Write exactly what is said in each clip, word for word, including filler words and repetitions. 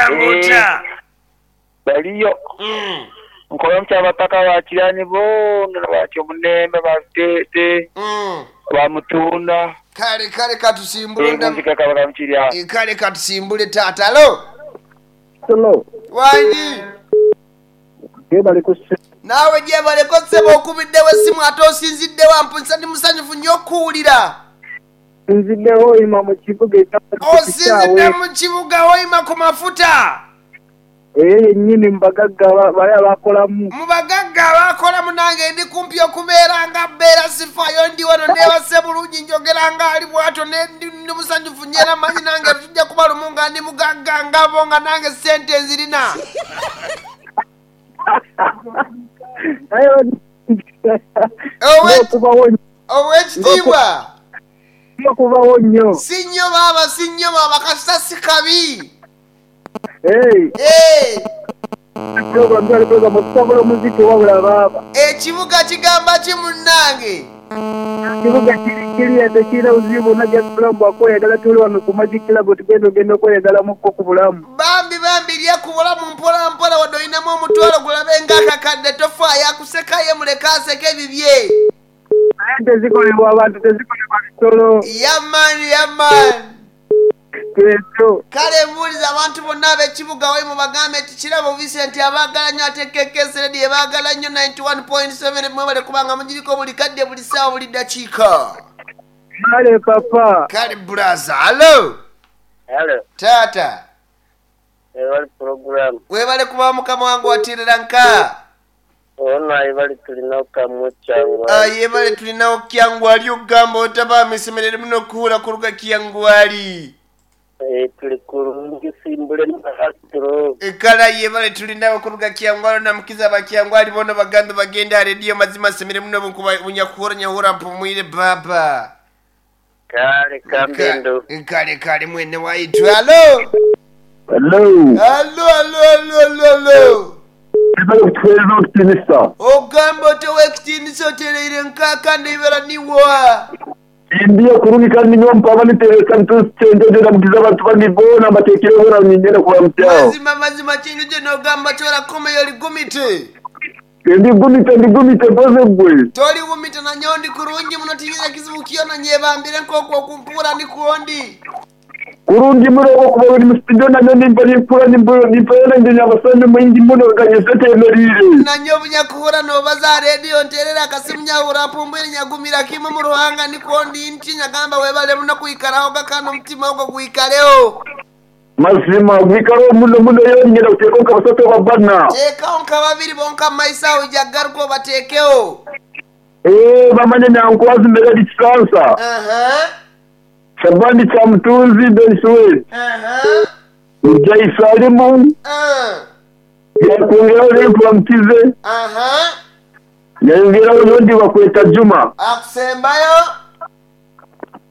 Ogamba otya? Baliyo. Mm. Nkola mukyabataka bakirani boona batyo omunembe babitete Mm. bamutunda Kale kale katusimbule nda- engunzika kabaka mukirya. Eh, kale katusimbule taata. Alo. Hello. Wangi. Gebale ku Naawe gyebaleko ssebo okubiddewo essimu ate osinziddewo ampunisa ndi musanyufu nnyo okuwulira. nziddewo oyima mu kibuga Osinzidde mu kibuga oyima ku mafuta. Eyo yennyini mu bagagga ba- bali abakolamu. Mu bagagga abakolamu nange ndi kumpi okubeera nga mbeera sifaayo ndi wano neebase bulungi njogera nga ali bw'atyo ne ndi ndi musanyufu nnyo era manyi nange tujja kuba lumu nga ndi mugagga ngabo nga nange ssente nzirina. Naye Owe- okubawo Owekitiibwa okubawo nnyo. si nnyo baaba si nnyo baaba kasita si kabi. Hey, Eh, program twali program okutabula omuziki wabula baaba. Ekibuga kigamba ki munnange? Kibuga kiri kiriya tekirina buzibu bwonna just bulamu bwakweyagala tuli wano ku Magic Club tugenda ogenda okweyagalamukko ku bulamu. Bambi bambi lya ku bulamu mpola mpola wadde olinamu omutwalo gulabe ng'akakadde tofaayo akusekaye muleke aseke ebibye. Naye tezikolebwa abantu tezikolebwa bisolo. Yamaani yamaani. Kyekyo. Kale mbuuliza abantu bonna ab'ekibuga we mubagambe nti kirabo Vincent abaagala nnyo ate K K S Radio ebaagala nnyo ninety one point seven mwebale kubanga mugiriko buli kadde buli ssaawa buli ddakiika. Kale papa. Kale brother, hello. Hello. Taata. Webali program. Webale kuba mukama wange watirira nka. Ona ibali tulinawo kamwe kyangwa. Aye bale tulinawo kyangwali okugamba otaba misemerere muno kuhura kuruga kyangwali. Eh, tuli kurungi simbule na Ekala ye bale tulinawo kuruga kyangwali na mukiza ba kyangwali bono baganda bagenda radio mazima semere muno bunkuba bunyakuhura nyahura mpumwire baba. Kale kambendo. Kale kale mwene waitu. Hello. Hello. Hello hello hello hello hello. Ebale kutuweereza okutinisa. Ogamba otewekitiinisa otereire nkaaka ndibera niwa. Ndiyo kurungi kandi niyo mpaba niteresa ntusenjogera mugiza abantu bangi boona mbateekere bora nyingene kuba mutyawo. Mazima mazima kintu gye n'ogamba kyorakomeyo oligumite. Ndi gumite ndi gumite mpoze gwe. Toli gumite nanyo ndi kurungi muno tiyina kizibu kyona nyebambire nk'okwo okumpura ndi kuondi. Kurungi muno okuba uri mu studio nanyo nimba nimpura nimbura nimpera nje nyabasane mwingi muno ganyeze temerire. Nanyo bunyakuhura nobaza radio nterera akasimu nyahura mpumbwire nyagumira kimwe mu ruhanga ndi kuondi nti nyagamba webale muno kwikaraho gakano omutima ogwo gwikaleho. Mazima gwikaraho muno muno yonyine uteeka nka basatu babana. Teekaho nka babiri bonka mu maiso aho ojja obateekeho. Eh bamanye nyankwazi mbere dikisansa. Aha. Shabani cha mtunzi Bensuwe. Aha. Ujai Salimu. Ah. Yakuongeraho Lenku Mkize. Aha. Yayongeraho n'ondi bakweta Juma. Akusembayo.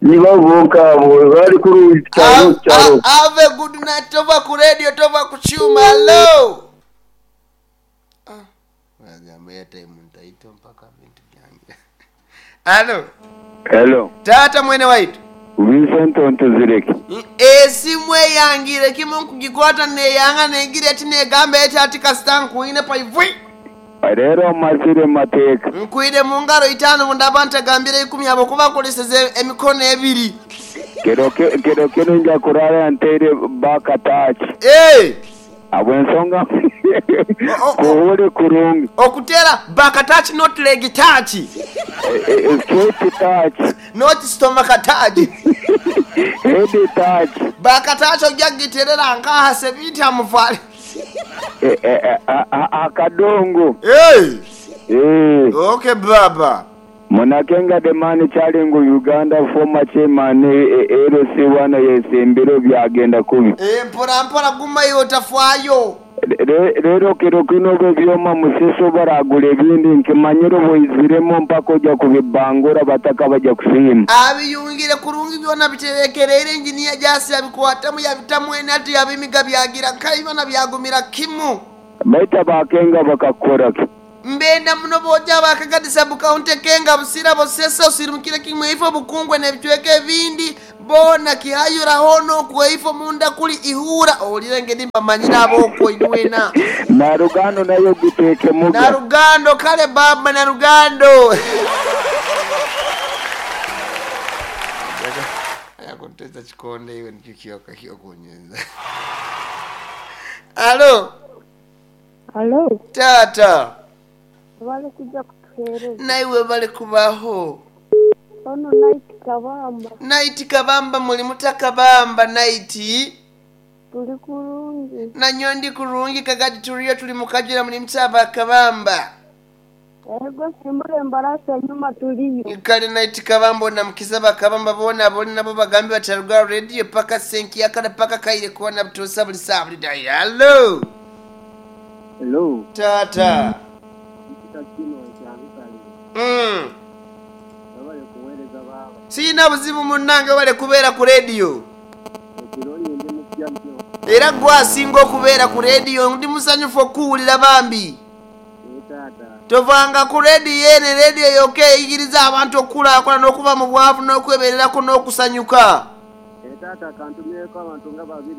Nibo bonka abo bali kuri cyaro cyaro. Have a good night tova ku radio tova ku chuma. Hello. Ah. Wagamba airtime ntaito mpaka bintu byange. Hello. Hello. Tata mwene waitu. Vincent Ontuzireke. Esimu eyangire kimu nkugikwata neyanga negira eti negamba eti ati kasita nkuine paivwi. Rero mazire mateeka. Nkuine mu ngaro itaano bundaba ntagambire ikumi abo kuba nkoleseze emikono ebiri. Kero kero kero nja kurara nteire bakatachi. Eh. Abo ensonga kuhule kurungi. Okutera bakatachi not leg touch. Straight touch. Not stomach touch. Head touch. Bakatachi ojja giterera nkaha sebita muvale. Akadongo. Hey. Eh. Okay baba. Munakenga the man chalingu Uganda former chairman L C one yesimbiro byagenda kubi. Eh mpora mpora guma yo tafwayo. Rero kero kino byoma musiso baragula ebindi nkimanyiro boiziremo mpaka ojja kubibangura bataka bajja kusiima. Abiyungire kurungi byona biterekerere engineer jasi yabikwatamu yabitamu enati yabimiga byagira nkaibana byagumira kimu. Baita bakenga bakakora ki. Mbenda muno boja abakagadisa bukaunte kenga busira bosesa osirumukire kimwe ifo bukungwe n'ebicweka ebindi bona kihayura hono kweifo munda kuli ihura owulire ngeri mbamanyira ab'okwo inwena. Na rugando nayo giteeke muga. Na rugando kale baba na rugando. Ayakunteza chikonde iwe nikikioka kiokunyenza. Alo. Alo. Tata. Wale kuja kutuhereza. Naiwe bale kubaho. Ono Night Kabamba. Night Kabamba muli mutakabamba Night. Tuli kurungi. Nanyo ndi kurungi kagadi tuliyo tuli mukajira muli mutaba Kabamba. Ego simbule mbarasa nyuma tuliyo. Kale Night Kabamba na mukisaba Kabamba bona aboli nabo bagambi bataruga radio paka senki yakala paka kaire kuona butosa buli sabuli dai. Hello. Hello. Tata. Mm. Sina buzibu munnange bale kubeera ku radio. Era gwasinga okubeera ku radio ndi musanyufu okuwulira bambi. Tovanga ku radio ene radio yokka eyigiriza abantu okukulaakulana n'okuva mu bwavu n'okwebererako n'okusanyuka.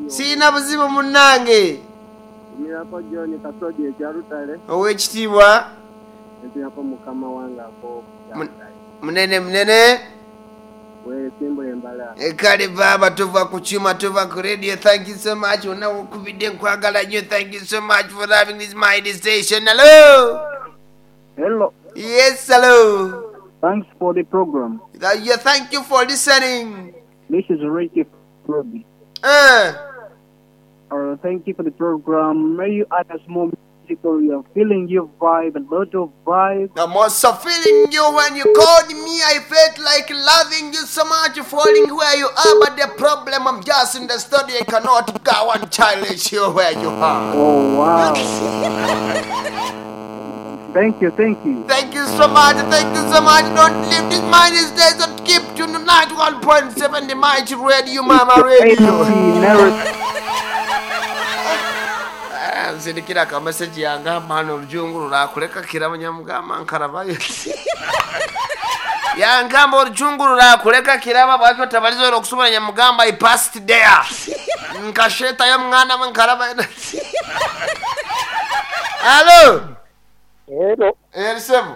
Sina buzibu munnange. Ow'ekitiibwa munene munene. Kale baba tuva ku kyuma tuva ku radio. Thank you so much. Ona okubidde nkwagala nnyo. Thank you so much for having this mighty station. Hello. Hello. Yes, hello. Thanks for the program. Yeah, thank you for listening. This is Ricky Ruby. Uh. Uh, thank you for the program. May you add us more music or you're feeling your vibe, a lot of vibe. I'm also feeling you when you called me. I felt like loving you so much, falling where you are. But the problem, I'm just in the studio. I cannot go and challenge you where you are. Oh, wow. Thank you, thank you. Thank you so much, thank you so much. Don't leave this minus days and keep to ninety-one point seven the Mighty Radio, Mama Radio. Nzindikira ka message yangamba hano olujungu lurakuleka kiraba nyamugamba nkarabayo. Yangamba olujungu lurakuleka kiraba bwaki otabaliza olwo okusubula nyamugamba I passed there. Nkashetayo mwana we nkaraba. Hello. Hello. Erisebu.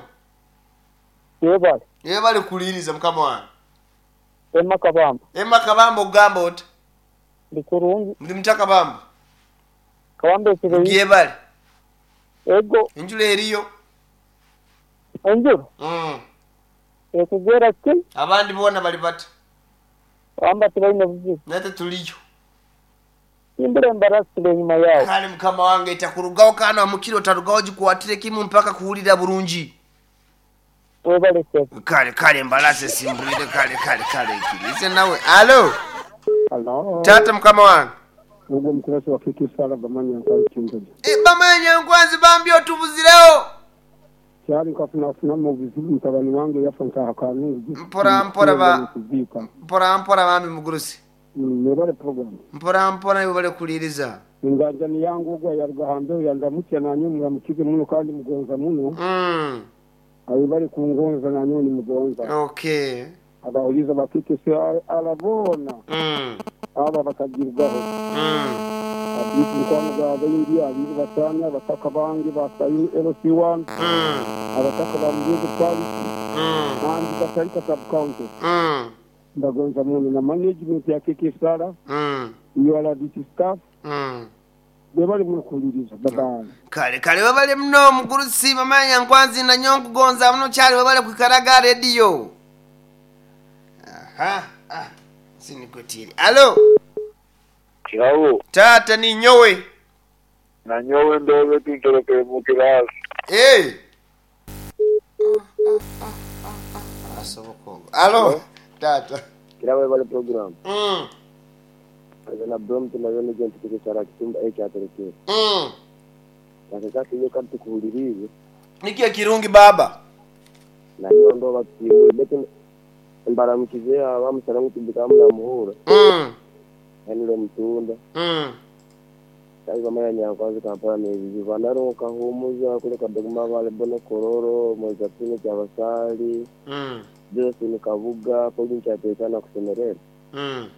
Yebale. Yebale kuliriza mukama wange. Emma Kabamba. Emma Kabamba ogamba oti? Ndi kurungi. Ndi mutakabamba. Kabamba ekiro. Yebale. Ego. Enjula eriyo. Enjula? Mm. Ekugwera ki? Abandi bona bali bata. Kabamba tebalina buzibu. Nate tuliyo. Imbere embarasi enyuma yawe. Kale mukama wange etakurugawo kana mukiro otarugawo gikwatire kimu mpaka kuwulira bulungi. Webale sebo. Kale kale embalasi simbulire kale kale kale ikirize nawe. Alo. Hello. Tata mukama wange. Ubwo mkurasi wa kiki sala bamanya nkwanzi kintoji. E bamanya nkwanzi bambi otubuzirewo. Kyali nkafuna funa mu buzibu mutabani wange yafa nkahakanu. Mpora mpora ba mpora mpora bambi mugurusi. Mwebale program. Mpora mpora mwebale kuliriza. Inganjani yangu ogwa yarugahambe yandamutya nanyo muramukize muno kandi mugonza muno. Mm. Abibale kungonza nanyo ni mugonza. Okay. Abawuliza bakike se alabona. Mm. Aba bakagirwaho. Mm. Abisi mukwano gwa bayindi abiru batanya abataka bange basayu L C one. Mm. Abataka ba Mugizi Parish. Mm. Nandi Katarika sub county. Mm. Ndagonza muno na management ya K K Sara. Mm. U R D C staff. Mm. Bebali mukuliriza baba. Kale kale webale muno mugurusi bamanya nkwanzi na nyonkugonza muno kyali webale kwikaraga radio. Aha. Ah. Sinikotiri. Alo. Kirawo. Tata ni nyowe. Na nyowe ndobe tunterekere mu kirasi. Eh. Asoboko. Alo. Tata. Kirawo webale program. Mm. Na brom tunayona gente tukisara kitumba ekyaterekere. Mm. Nakakati iyo kandi tukuhulirize. Niki kirungi baba. Na nyo ndo batsiwe bete mbaramukize abamusara ngutubika munamuhura. Mm. Henry Mutunda. Mm. Taibamanya Nyankwazi Kampala n'ebizibu Bandaro Kahumuza kuleka Dogma Vale Bono Kororo Mozatini Kyabasali mm. Josephine Kabuga Pauline Kyateekana kusemerera mm.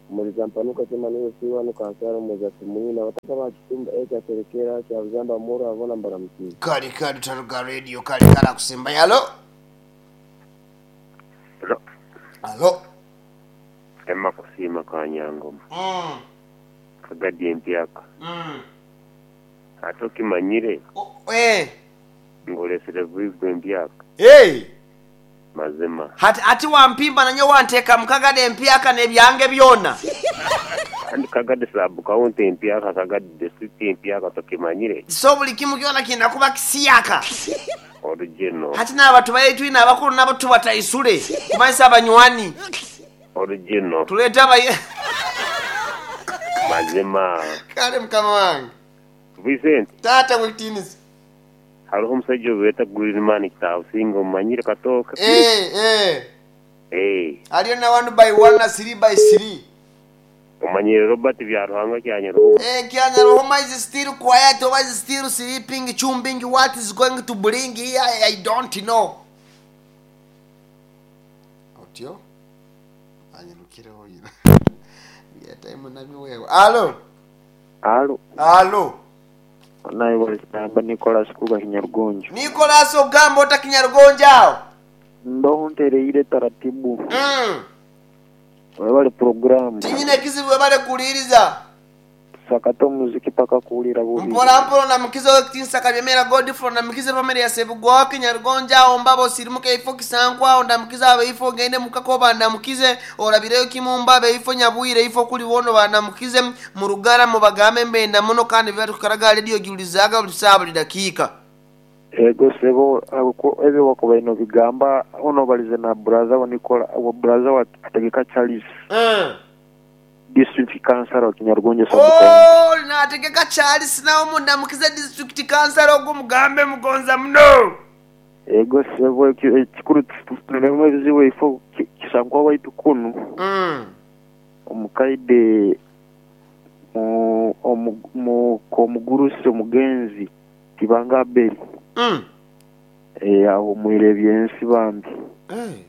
Muliza Mpanuka Kimaniyo Siwa Nukansara Mozati Mwina wataka bakitumba ekyaterekera Kyabuzamba Moro abona mbaramukiza. Kale kale taruga radio kale kala kusimba. Halo. Halo. Halo. Emma kusima kanyangoma. Mm. Kagadi empyaka. Mm. Ate okimanyire. Oh, eh. Ngolesere bwigwe empyaka. Hey. Mazima. Hati ati wampimba nanyo wanteeka mukagade empyaka n'ebyange byona. Kandi kagade sub county empyaka kagade district empyaka tokimanyire. So buli kimu kyona kina kuba kisiyaka. Original. Hati n'abantu bayitwina abakulu nabo tubataisule kumanyisa abanywani. Original. Tuleeta abaye. Mazima. Kale mukama wange. Vincent. Tata wekitiinisa. Hariho omusajja obeeta Greenman Kitaabusinga omumanyire Katooka. Eh eh. Eh. Aliyo na one by one na three by three. Omanyire Robert Byaruhanga Kyanyaruhuma. Eh Kyanyaruhuma is still quiet or is still sleeping chumbing what is going to bring here I don't know. Otyo anyirukireho yira. Ya time nabiwewe. Alo. Alo. Alo. Naye walisamba Nicholas kuba Kinyarugonjo. Nicholas ogamba ota Kinyarugonjo awo. Ndo ntereire taratibu. Mm. Webale program. Tinyine kizibu webale kuwuliriza. Sakata muziki paka kuwulira bubi. Mpola mpola na mukizo w'ekitiinisa Kabyemera Godfrey na mukize family ya Sebugwawo Kinyarugonjo awo mbabo sirimuka ifo kisankwa awo ndamukize abeifo ngende mukakoba ndamukize olabireyo kimumba abeifo nyabwire ifo kuli wono bandamukize mu rugara mubagambe mbenda muno kandi byatukaraga radio giulizaaga buli saa buli dakiika. Ego sebo ebyo wakuba ino bigamba ono balize na brother wa Nicola wa brother wa Ategeka Charles. Mm. District councilor wa Kinyarugonjo sub oh, county. Na Ategeka Charles nawo mundamukize district councilor ogwo mugambe mugonza muno. Ego sebo ekikuru tunemu ebizibu ifo kisankwa waitu kunu. Mm. Omukaide mu mu komugurusi omugenzi Kibanga Abeli. Mm. Eh awo mwire byensi bambi. Eh.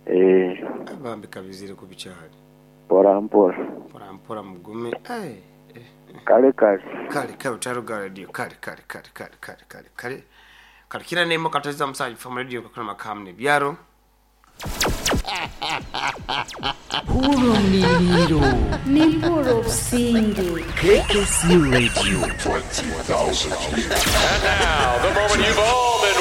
Eh bambi kabizire ku bikyali. Mpora mpora. Mpora mpora mugume. Eh. Kale kale. Kale kale taruga radio kale kale kale kale kale kale kale. Kale kina nemo kateza musaji from radio kakuna makamne byaro. Hurumliro Nimpuro Singi K K C Radio twenty thousand. And now the moment you've all